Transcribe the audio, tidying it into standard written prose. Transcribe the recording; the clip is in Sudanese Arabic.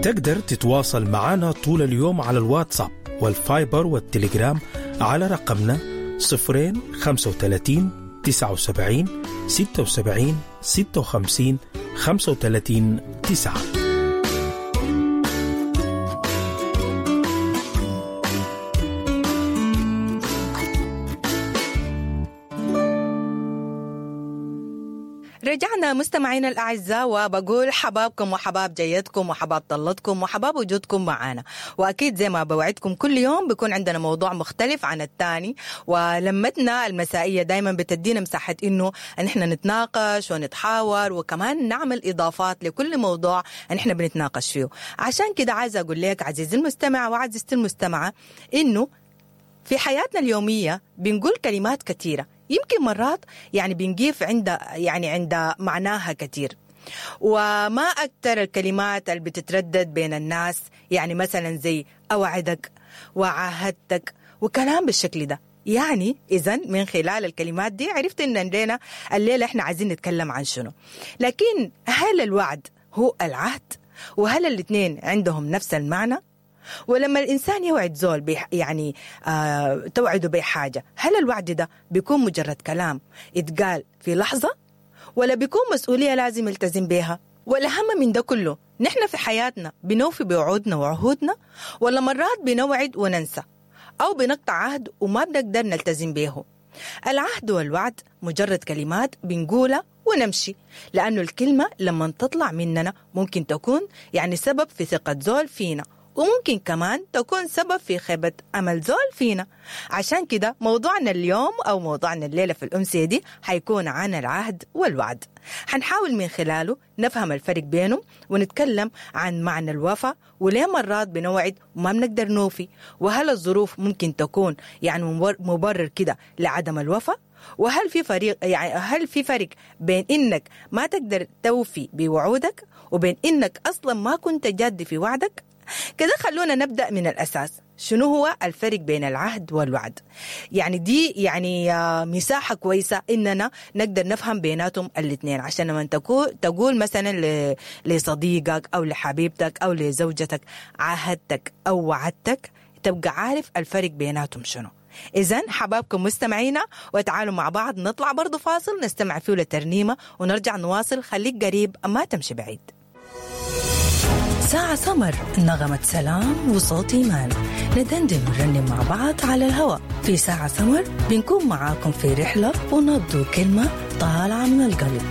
تقدر تتواصل معنا طول اليوم على الواتساب والفايبر والتليجرام على رقمنا 0 35 79 76 56 35 9. رجعنا مستمعينا الأعزاء، وبقول حبابكم وحباب جيتكم وحباب طلتكم وحباب وجودكم معانا. وأكيد زي ما بوعدكم كل يوم بيكون عندنا موضوع مختلف عن الثاني، ولمتنا المسائية دايما بتدينا مساحة إنه نحن نتناقش ونتحاور وكمان نعمل إضافات لكل موضوع نحن بنتناقش فيه. عشان كده عايزة أقول لك عزيزي المستمع وعزيزتي المستمعة إنه في حياتنا اليومية بنقول كلمات كثيرة، يمكن مرات يعني بنقيف عند يعني عند معناها كثير، وما أكثر الكلمات اللي بتتردد بين الناس، يعني مثلا زي أوعدك وعاهدتك وكلام بالشكل ده. يعني إذن من خلال الكلمات دي عرفت إن الليلة إحنا عايزين نتكلم عن شنو. لكن هل الوعد هو العهد؟ وهل الاثنين عندهم نفس المعنى؟ ولما الإنسان يوعد زول يعني توعده بحاجة، هل الوعد ده بيكون مجرد كلام اتقال في لحظة، ولا بيكون مسؤولية لازم يلتزم بيها؟ والأهم من ده كله، نحن في حياتنا بنوفي بوعودنا وعهودنا، ولا مرات بنوعد وننسى أو بنقطع عهد وما بنقدر نلتزم بيه؟ العهد والوعد مجرد كلمات بنقولها ونمشي، لأنه الكلمة لما تطلع مننا ممكن تكون يعني سبب في ثقة زول فينا، وممكن كمان تكون سبب في خيبة أمل زول فينا. عشان كده موضوعنا اليوم أو موضوعنا الليلة في الأمسية دي حيكون عن العهد والوعد. حنحاول من خلاله نفهم الفرق بينهم، ونتكلم عن معنى الوفاء، وليه مرات بنوعد وما بنقدر نوفي، وهل الظروف ممكن تكون يعني مبرر كده لعدم الوفاء، وهل في فريق يعني هل في فرق بين إنك ما تقدر توفي بوعودك وبين إنك أصلا ما كنت جاد في وعدك؟ كده خلونا نبدأ من الأساس، شنو هو الفرق بين العهد والوعد؟ يعني دي يعني مساحة كويسة إننا نقدر نفهم بيناتهم الاثنين، عشان لما تقول مثلا لصديقك أو لحبيبتك أو لزوجتك عاهدتك أو وعدتك، تبقى عارف الفرق بيناتهم شنو. إذن حبابكم مستمعينا، وتعالوا مع بعض نطلع برضو فاصل نستمع فيه لترنيمة ونرجع نواصل. خليك قريب ما تمشي بعيد. ساعة سمر، نغمة سلام وصوت إيمان، ندندن ونرنم مع بعض على الهواء في ساعة سمر. بنكون معاكم في رحلة ونبض كلمة طالعة من القلب.